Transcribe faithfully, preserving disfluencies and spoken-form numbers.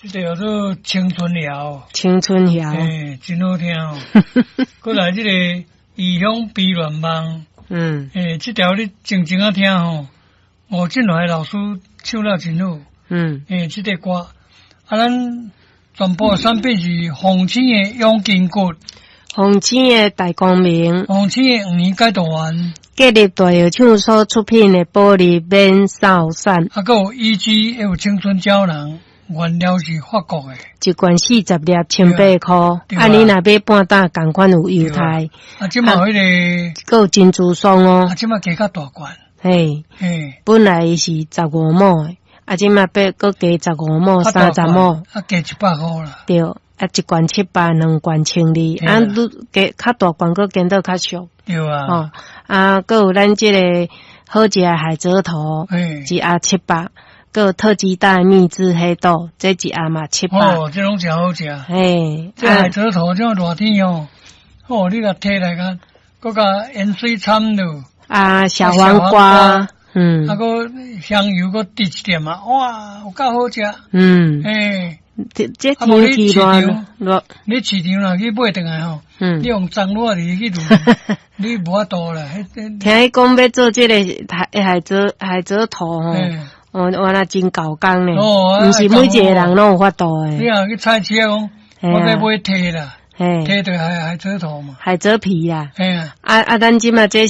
這個叫做青春謠，青春謠，欸，真好聽哦。閣來這個異鄉悲戀夢，嗯，欸，這條你靜靜仔聽吼，吳振華老師唱了真好，嗯，欸，這個歌，啊，咱全部產品是鳳青的養筋骨，鳳青的大光明，鳳青的黃魚解毒丸，建立大藥廠所出品的保利免掃散，啊，閣有 E G 還有青春膠囊。原料是法國的，一罐四十粒，千八箍。啊，你若買半打，仝款有優待。啊，這馬彼個，閣有珍珠霜哦。啊，這馬加較大罐。嘿，嘿，本來是十五畝的，啊，這馬變閣加十五畝，三十畝。啊，加一百箍啦。對，啊，一罐七百，兩罐千二，啊，愈加較大罐，閣減倒較俗。對啊。哦，啊，閣有咱這個好食的海蜇頭，一盒七百。閣有特級大秘製黑豆，這一盒嘛七百。哦，這攏誠好食。嘿，這海蜇頭這熱天哦，哦，你共提來較，閣共鹽水摻落。啊，小黃瓜，嗯，啊，閣香油閣滴一點啊，哇，有夠好食。嗯，嘿，這這天氣熱熱，你市場若去買轉來吼，嗯，你用髒熱入去滷，你無法度啦。聽伊講欲做這個海海蜇海蜇頭吼。哦，原來真猴工呢，毋是每一個人攏有法度的。你若去菜市講，我欲買提啦，提就海海蜇頭嘛。海蜇皮啦。嘿啊。啊啊，咱這馬這